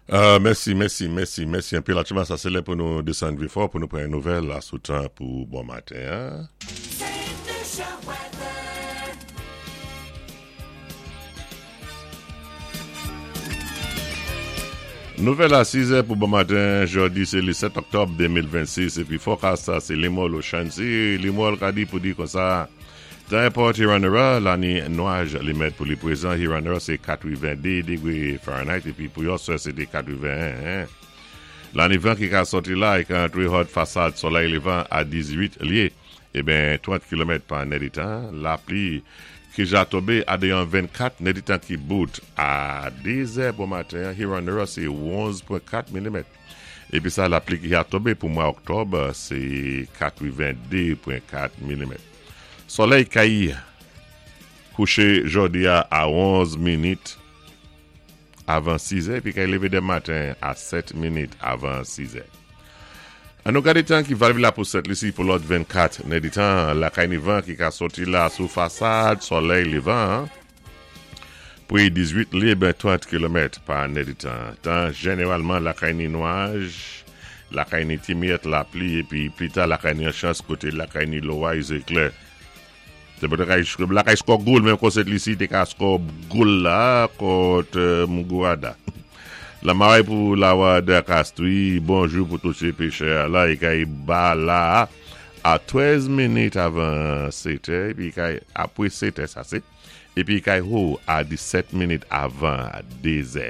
Mèsi, mèsi, mèsi, mèsi anpil. Aktyèlman sa se lè pou nou desann Vifò pou nou pran yon nouvèl asou tan pou bon maten an. Nouvèl a 6 è pou bon maten, jodi se le 7 oktòb 2026 epi forecast sa se Limol Ochancy. Limol ka di pou di konsa. Tan Airport Hewanorra, la ni nwaj li mèt pou li prezan Hewanorra se 82 degre Fahrenheit epi pou yon sè se te 81. La ni van ki ka sòti la e ka antre hòt fasad solèy levan a 18 lye e ben 30 kilomèt pa nèditan. Lapli ki ja tonbe a deyon 24 nèditan ki bout a 2 zè bon maten an Hewanorra se 11.4 milimèt. Epi sa lapli ki ja tonbe pou mwa oktòb se 82.4 milimèt. Solèy kay kouche jodi a a 11 minit avan 6 è epi kay leve demen maten a 7 minit avan 6 è. An nou gade tan ki valvi la pou Sent Lisi pou lòt 24 nèditan lakay ni van ki ka soti la sou fasad solèy levan an. Pri 18 lib 30 kilomèt pa nèditan. Tan jeneralman lakay ni nwaj, lakay ni ti miyèt lapli epi plita lakay ni an chans kote lakay ni loway zeklè. Se pou te lakay skò goal menm kon Sent Lisi te ka skò goal la kont Mgourada. Lamaray pou Lawad Kastri, bonjou pou tout se pechè a la e kay ba la a 13 minit avan 7 è epi kay apre 7 è sa se. Epi kay ho a 17 minit avan 2 zè.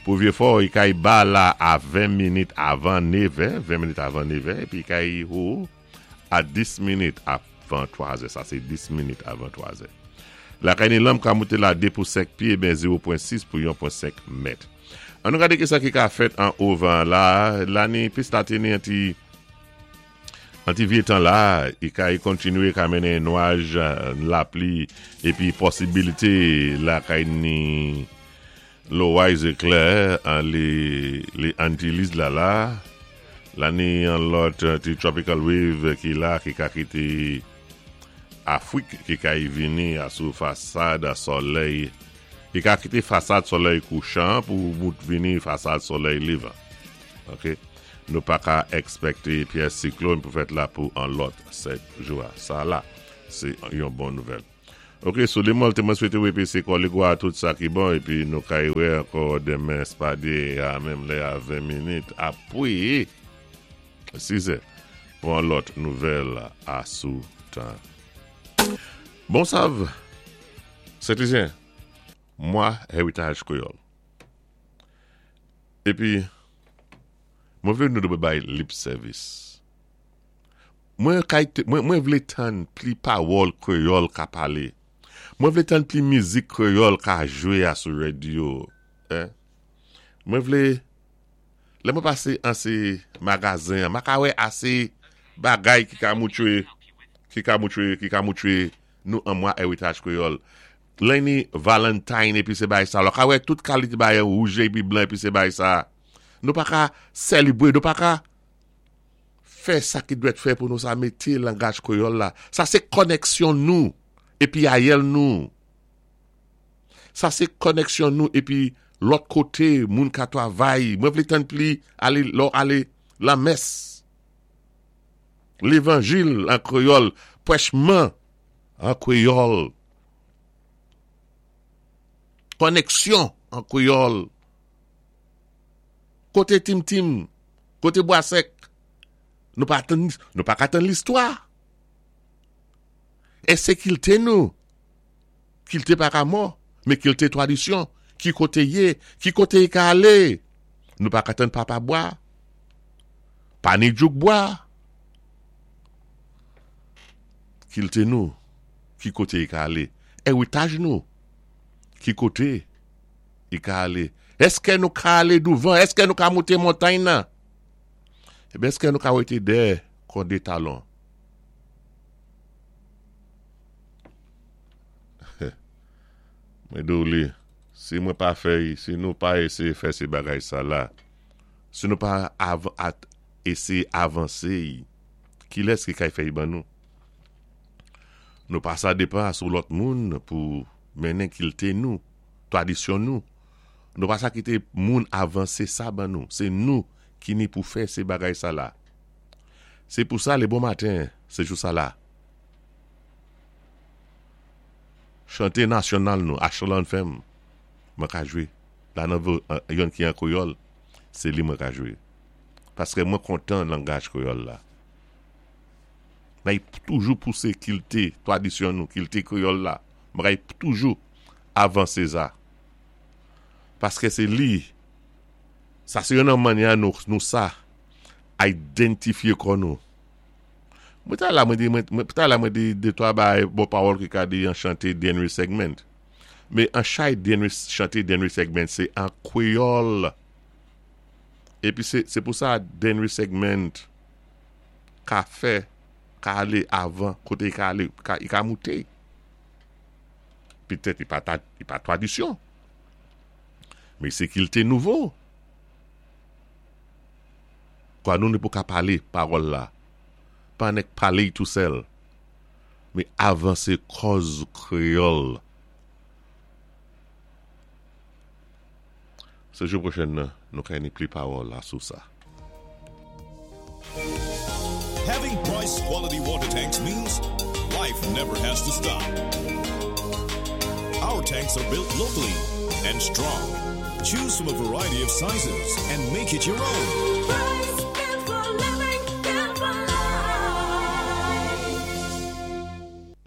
Pou Vyefò, i kay ba la a 20 minit avan nevè, 20 minit avan nevè, epi kay ho a 10 minit avan 3 zè. Sa se 10 minit avan 3 zè. Lakay ni lanm ka moute la 2 pou 5 pye, ben 0.6 pou 1.5 mèt. An nou gade kisa ki ka fèt an o van la. La ni pis la te ni an ti. An ti vye tan la, i ka i kontinye ka mennen nwaj, lapli epi posibilite lakay ni loway zeklè an li li Antilles la la, la ni yon lòt ti tropical wave ki la ki ka kite Afrik ki ka i vini a sou fasad solèy ki ka kite fasad solèy kouchan pou mout vini fasad solèy levan. Ok. Nou pa ka ekspekte pyès siklòn pou fèt la pou an lòt 7 jou a. Sa la, se yon bon nouvèl. Ok, sou lemòl te mwen swete w epi se kòligwa a tout sa ki bon epi nou kay wè ankò demen spade a menm lè a 20 minit apre 6 è pou an lòt nouvèl a sou tan. Bon sav, Sentlisyen, mwa Heritage Kreyòl. Epi, mwen vle nou dwe bay lip sèvis. Mwen kay mwen vle tann pli pawòl kreyòl ka pale. Mwen vle tann pli mizik kreyòl ka jwe a sou radyo. Mwen vle lè mwen pase an se magazen an, ma ka wè ase bagay ki ka moutwe ki ka moutwe ki ka moutwe nou an mwa Heritage Kreyòl. Lè ni Valentine epi se bagay sa. Lò ka wè tout kalite bagay wouj epi blan epi se bagay sa. Nou pa ka selebre, nou pa ka fè sa ki dwèt fè pou nou sa mete langaj kreyòl la. Sa se koneksyon nou epi ayèl nou. Sa se koneksyon nou epi lòt kote moun ka travay. Mwen vle tann pli ale lò ale lamès. Levanjil an kreyòl, prèchman an kreyòl. Koneksyon an kreyòl. Kote Tim Tim? Kote Bwa Sèk? Nou pa tann, nou pa ka tann listwa. Ese kilte nou? Kilte pa ka mò, men kilte tradisyon. Ki kote ye? Ki kote y ka ale? Nou pa ka tann Papa Bwa. Pa ni Djouk Bwa. Kilte nou? Ki kote y ka ale? Eritaj nou? Ki kote y ka ale? Eske nou ka ale douvan? Eske nou ka moute montay nan? Ebyen eske nou ka wete dèyè kon de talon? Mwen di w li, si mwen pa fè, si nou pa eseye fè se bagay sa la, si nou pa eseye avanse, kilès ki kay fè y ban nou? Nou pa sa depan sou lòt moun pou mennen kilte nou, tradisyon nou. Nou pa sa kité moun avansé sa ban nou. Sé nou ki ni pou fè sé bagay sa la. Sé pou sa lé bon maten sé jou sa la. Chanté nasyonal nou National Anthem mwen ka jwé la nan yonn ki an kwéyòl sé li mwen ka jwé. Paskè mwen kontan langaj kwéyòl la. Nay toujou pousé kilti twadisyon nou, kilti kwéyòl la. Mwen kay toujou avanse sa. Paske se li, sa se yon nan manyè nou, nou sa identifye kò nou. Mwen ta la mwen di, mwen ta la mwen di de twa bagay bon pawòl ki ka di an chante Denry Segment. Men an chay Denry, chante Denry Segment se an kwéyòl. Epi se, se pou sa Denry Segment ka fè, ka ale avan kote li ka ale, li ka moute. Petèt li pa ta, li pa tradisyon. Men se kilte nouvo. Kwa nou ne pou ka pale pawòl la. Pa nèk pale tou sèl. Men avanse kòz kreyòl. Se jou pwochèn nan, nou ka ni pli pawòl la sou sa. Having Price quality water tanks means life never has to stop. Our tanks are built locally and strong. Choose from a variety of sizes and make it your own. Price, built for living, built for life.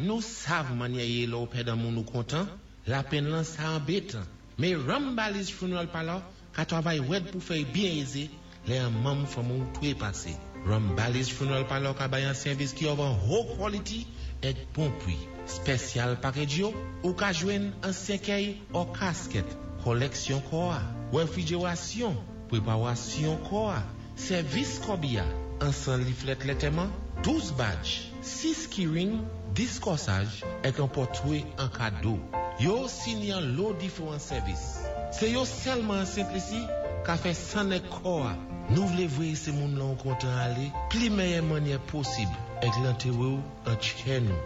Nou sav mannyè yé lè-w pèd an moun ou kontan, lapenn lan sa anbétan. Mé Rambali's Funeral Parlor ka twavay wèd pou fè-y byen ézé lè an manm fanmi-w twé pasé. Rambali's Funeral Parlor ka bay an sèvis ki of an ho quality èk bon pwi. Spèsyal package yo, ou ka jwenn an sèkèy or casket, kòlèksyon kò-a, wèfrijerasyon, pwépawasyon kò-a, sèvis kòbi-a, ansan liflèt lètèman, 12 badge, 6 keyring, 10 kòsaj, èk an pòtwé an kado. Yo osi ni an lo diféwan sèvis. Sé yo sèlman an Sent Lisi ka fè nèg kò-a. Nou vlé vwéyé sé moun lan ou kontan alé pli mèyè mannyè posib èk lantéwé-w an tchè nou.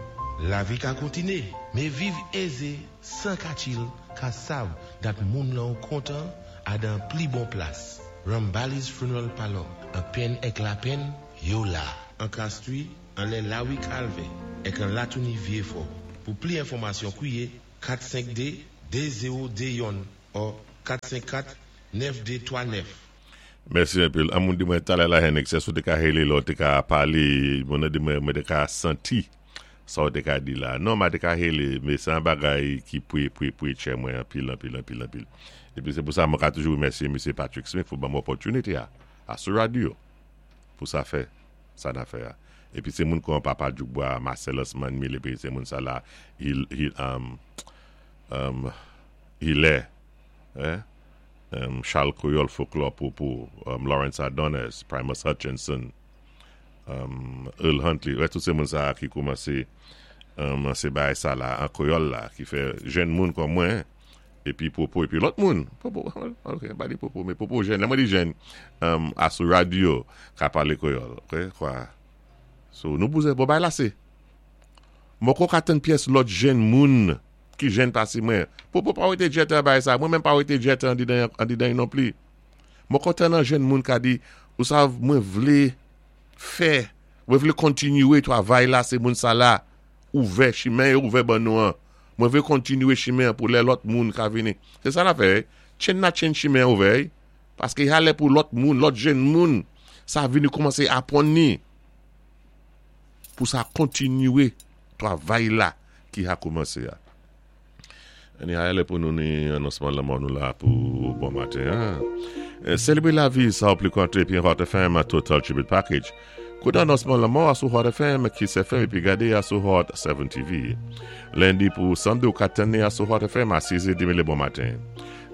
Lavi ka kontiné, mé viv ézé 100 ka chill ka sav dat moun lan ou kontan a dan pli bon plas. Rambali's Funeral Parlor, an penn èk lapenn, yo la. An Castries, anlè Lawi Kalvè, èk an Latouni Vyéfò. Pou pli enfòmasyon kwiyé 452 2021 or 454 9239. Mèsi anpil. An moun di mwen talè la Henrik se sou te ka hele lè ou te ka pale, moun nan di mwen mwen te ka santi sa ou te ka di la. Non, ma te ka hele, men se an bagay ki pwe pwe pwe tchè mwen anpil anpil anpil anpil. Epi se pou sa mwen ka toujou remèsye Mesye Patrick Smith pou ban m opòtinite a, a sou radyo pou sa fè sa na fè a. Epi se moun kon Papa Djoukbwa, Marcellus Manmil, epi se moun sa la, Hil, Hil, um, um, Hilaire, eh? um, Charles Coyol Folklore Popo, um, Lawrence Adonis, Primus Hutchinson, um, Earl Huntley, wè tout se moun sa ki koumanse um, se bagay sa la, an kwéyòl la, ki fè jenn moun kon mwen, epi Popo, epi lòt moun, Popo, ok, pa di Popo, men Popo jenn, lè mwen di jenn, um, a sou radyo, ka pale kwéyòl, ok, kwa, so nou bouzen, bon bagay la se, moko ka tann pyès lòt jenn moun ki jenn pase mwen, Popo pa wete djèt an bagay sa, mwen menm pa wete djèt an didan an didan non pli. Mwen kontan nan jenn moun ka di, ou sav mwen vlé fè, mwen vlé kontinyé twavay la se moun sa la ouvè chimen yo ouvè ban nou an. Mwen vlé kontinyé chimen an pou lè lòt moun ka vini. Se sa na fè, chenn na chenn chimen an ouvè, paské y a lè pou lòt moun, lòt jenn moun sa vini koumansé apwann ni pou sa kontinyé twavay la ki ha koumansé a. Ni a lè pou nou ni anonsman lanmò nou la pou bon maten an. Selebre lavi sa ou pli konte epi Hot FM Total Tribute Package. Koute anonsman lanmò a sou Hot FM, Kiss FM epi gade a sou Hot 7 TV. Lendi pou samdi ou ka tann ni a sou Hot FM a 6 è demi le bon maten.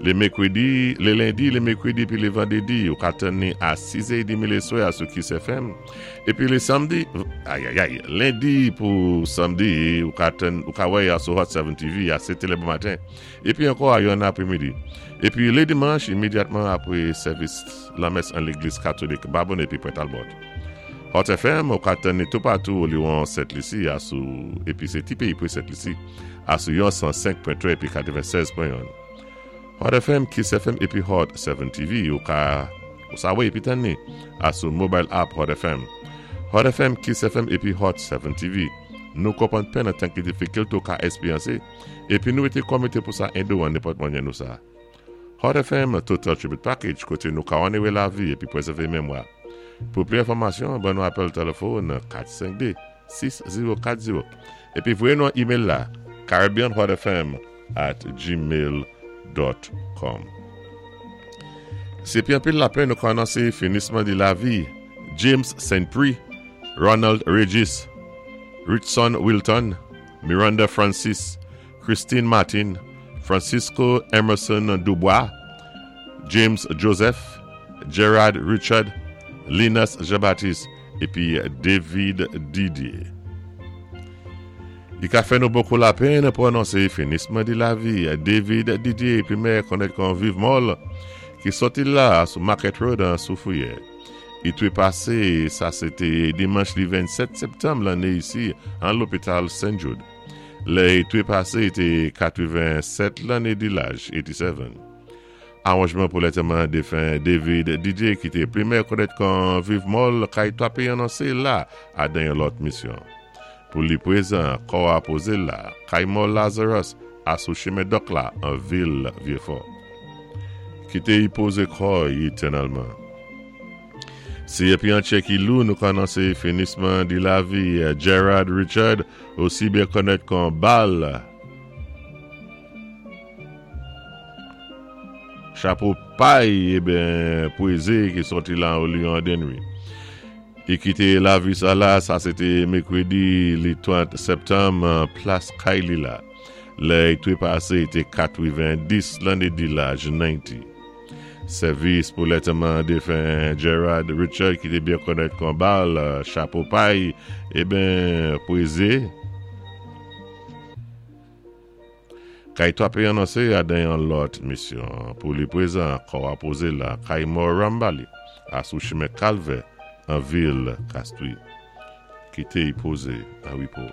Le mekredi, le lendi, le mekredi epi le vandredi ou ka tann ni a 6 è demi le swè a sou Kiss FM. Epi le samdi, ayayay, lendi pou samdi ou ka tann, ou ka wè a sou Hot 7 TV a 7 è le bon maten. Epi ankò a yon apremidi. Epi le dimanch imedyatman apre sèvis lanmès an legliz katolik Babonneau epi Pwen Talbot. Hot FM ou ka tann ni toupatou oliwon Sent Lisi a sou epi se ti peyi pre Sent Lisi a sou yon 105.3 epi 96.1. Hot FM, Kiss FM épi Hot 7 TV. Ou ka ou sa wè épi tann ni asou mobile app Hot FM. Hot FM, Kiss FM épi Hot 7 TV. Nou konpwann penn an tan ki difikilte ou ka èspéryansé épi nou été kòmité pou sa édé ou an nenpòt manyè nou sa. Hot FM Total Tribute Package koté nou ka onoré lavi épi pwézèvé memwa. Pou pli enfòmasyon, ban nou apèl tèlèfòn 452 6040 épi voyé nou an email la caribbeanhotfm at gmail dot com. Sé pi anpil lapenn nou ka anonsé finisman di lavi James Saint Prix, Ronald Regis, Ritson Wilton, Miranda Francis, Christine Martin, Francisco Emerson Dubois, James Joseph, Gerard Richard, Linus Jean-Baptiste épi David Didier. I ka fè nou bokou lapenn pou anonse finisman di lavi David Didier pimè konnèt kon Viv Mòl ki sòti la sou Market Road an Soufrière. I trepase sa se te dimanch li 27 septanm lanne isi an lopital St. Jude. Lè i trepase i te 87 lanne di laj, 87. Awanjman pou lantèman defen David Didier ki te plimè konnèt kon Viv Mòl kay 3 peyi anonse la adan yon lòt misyon. Pou li prezan kò a poze la kay mò Lazarus a sou chimen Dòk la an vil Vyefò. Kite y poze kò y etènèlman. Si epi antye ki lou nou ka anonse finisman di lavi Gerard Richard osi byen konnèt kon Bal. Chapo pay eben pweze ki sòti lan Olion Denry. I kite lavi sa la, sa se te mekredi li 30 septanm plas kay li la. Lè i trepase i te 90 lanne di laj 90. Sèvis pou lèteman defen Gerard Richard ki te byen konnèt kon bal chapo pay eben pweze. Kay 3 peyi anonse a dan yon lòt misyon pou li prezan kò a poze la kay mò Rambali a sou chimen Kalvè an vil Kastri. Kite y poze an repo.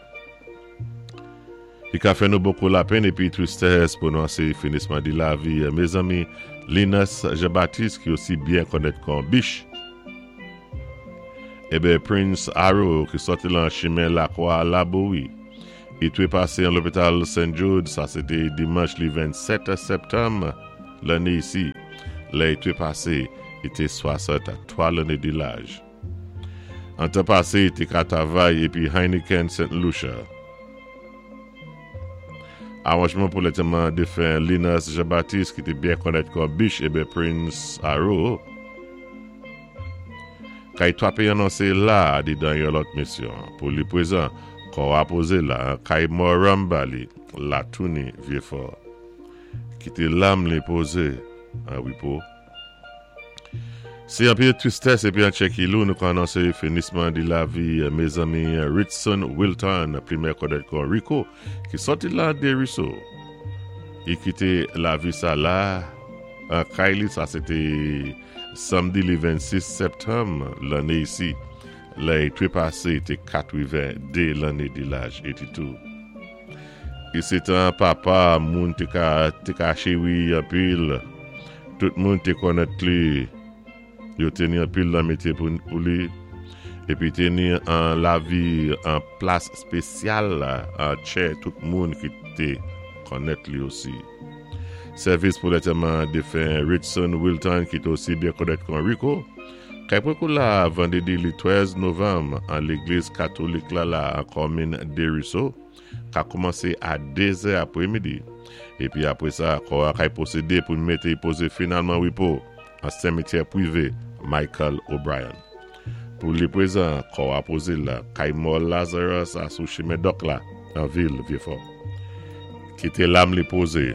Li ka fè nou bokou lapenn epi tristès pou nou anse finisman di lavi mezanmi Linus Jean Baptiste ki osi byen konnèt kon Bich eben Prince Arrow ki sòti lan chimen Lakwa Labouri. Li trepase an lopital St. Jude, sa se te dimanch li 27 septanm lanne isi. Lè li trepase, li te 63 lanne di laj. An tan pase, li te ka travay epi Heineken St. Lucia. Aranjman pou lantèman defen Linus Jean Baptiste ki te byen konnèt kòm Bich eben Prince Arrow. Kay 3 peyi anonse la dedan yon lòt misyon pou li prezan kò a poze la kay mò Rambali Latouni Vyefò kite lam li poze an repo Se anpil tristès epi antye ki lou nou ka anonse finisman di lavi mezanmi Ritson Wilton plimen kòdèt kon Rico ki sòti la Deriso li kite lavi sa la an kay li sa se te Samdi li 26 septanm lanne isi, lè i trepase te 82 lanne di laj 82. I se tan papa moun te ka te ka cheri anpil, tout moun te konnèt li, yo te ni anpil lanmitye pou pou li, epi te ni an lavi an plas spesyal an tchè tout moun ki te konnèt li osi. Sèvis pou lantèman defen Ritson Wilton ki te osi byen konnèt kon Rico, kay prekou la vandredi li 13 novanm an legliz katolik la la an kòmin Deriso ka koumanse a 2 zè apre midi epi apre sa kò a kay pwosede pou mete poze finalman repo an semityè pwive Michael O'Brien. Pou li prezan, kò a poze la kay mò Lazarus a sou chimen Dòk la nan vil Vyefò. Kite lam li poze.